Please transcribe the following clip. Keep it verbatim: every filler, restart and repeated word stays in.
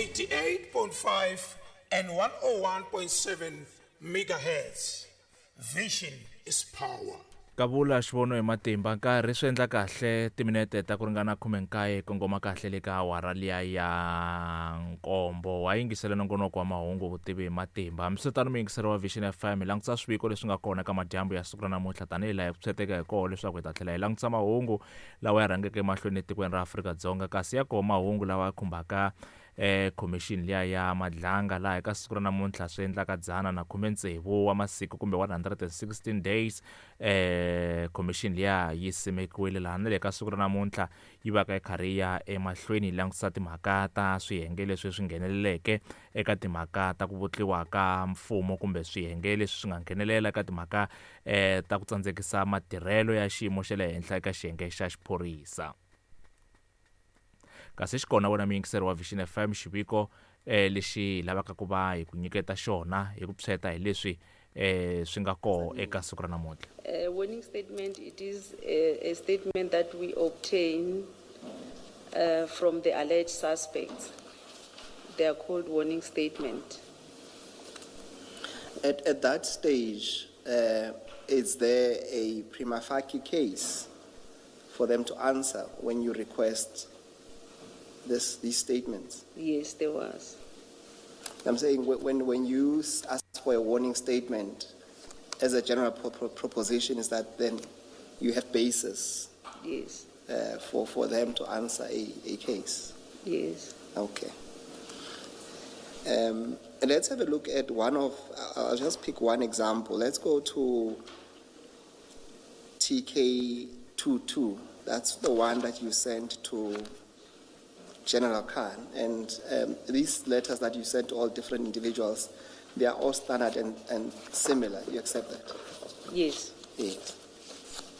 eighty-eight point five and one oh one point seven megahertz. Vision is power. Kavula xivono hi matimba nkarhi swi endla kahle timinete ta ku ringana khume nkaye kongoma kahle le ka awara liya ya nkombo wa yingisela nongonoko wa mahungu vutivi hi matimba. Hambiswiritano muyingiseri wa Vision F M hi langutisa swiviko leswi nga kona ka madyambu ya siku ra namuntlha tanihi laha hi pfuxeteka hi koho leswaku hi ta tlhela hi langutisa mahungu lawa ya rhangeke emahlweni etikweni ra Afrika-Dzonga kasi ya koho mahungu lawa ya khumbaka eh commission liya ya Madlanga laha eka siku ra namuntlha swi endlaka dzana na khume tsevu wa masiku kumbe one hundred and sixteen days eh commission liya yi simekiwile laha na le ka siku ra namuntlha yi va ka yi karhi ya emahlweni yi langutisa timhaka ta swiyenge leswi swi ngheneleleke eka timhaka ta ku vutliwa ka mfumo kumbe swiyenge leswi swi nga nghenelela eka timhaka eh ta ku tsandzekisa matirhelo ya xiyimo xa le henhla eka xiyenge xa xiphorisa. Kasi xikona wena muyingiseri wa Vision F M xiviko eh lexi lavaka ku va hi ku nyiketa xona hi ku psheta hi leswi eh swi nga koho eka siku ra namuntlha. A warning statement, it is a, a statement that we obtain, uh, from the alleged suspects. They are called warning statement. At, at that stage, uh, is there a prima facie case for them to answer when you request this, these statements? Yes, there was. I'm saying wh-, when, when you s-, ask for a warning statement, as a general pro-, pro-, proposition, is that then you have basis Yes. uh, for, for them to answer a, a case? Yes. Okay. Um, and let's have a look at one of, I'll just pick one example. Let's go to T K two two. That's the one that you sent to General Khan. And, um, these letters that you sent to all different individuals, they are all standard and, and similar. You accept that? Yes. Yes.